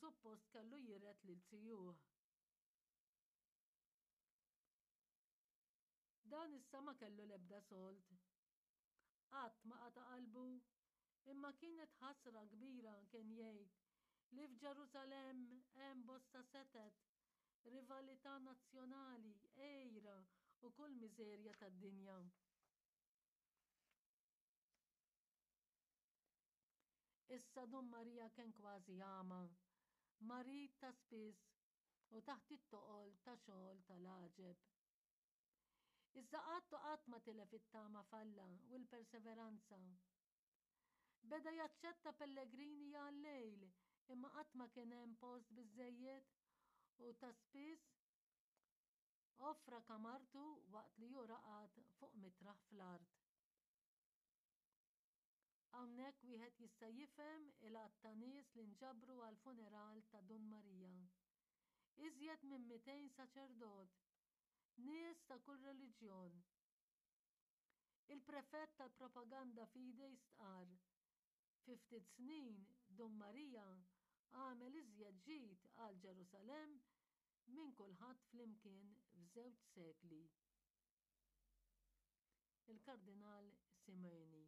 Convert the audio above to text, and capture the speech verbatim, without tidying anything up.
suppost kellu jiret lil zijuh. Dan issa ma kellu l-ebda sold. Qatt ma qata' qalbu, imma kienet ħasra kbira kien jgħid li f'Ġerusalemm hemm bosta setet, rivalità nazzjonali, għira u kull miżerja tad-dinja. Issa Dun Marija kien kważi għama, marid ta' spiss u taħt it-toqol ta' xogħol tal-għaġeb. Iżda qatt u qatt ma tilef it-tama f'Alla u l-perseveranza. Beda jaċċetta pellegrini għal-lejl imma qatt ma kien hemm post biżżejjed u ta' spiss offra kamartu waqt li hu raqad fuq mitraħ fl-art. Hawnhekk wieħed jista' jifhem il-għadd ta' nies li nġabru għall-funeral ta' Dun Marija. Iżjed minn mitejn saċerdot, nies ta' kull reliġjon. Il-prefett tal-Propaganda Fidei stqarr, Fi ftit snin Dun Marija għamel iżjed ġid għal Ġerusalemm minn kulħadd flimkien f'żewġ sekli. Il-Kardinal Simoni.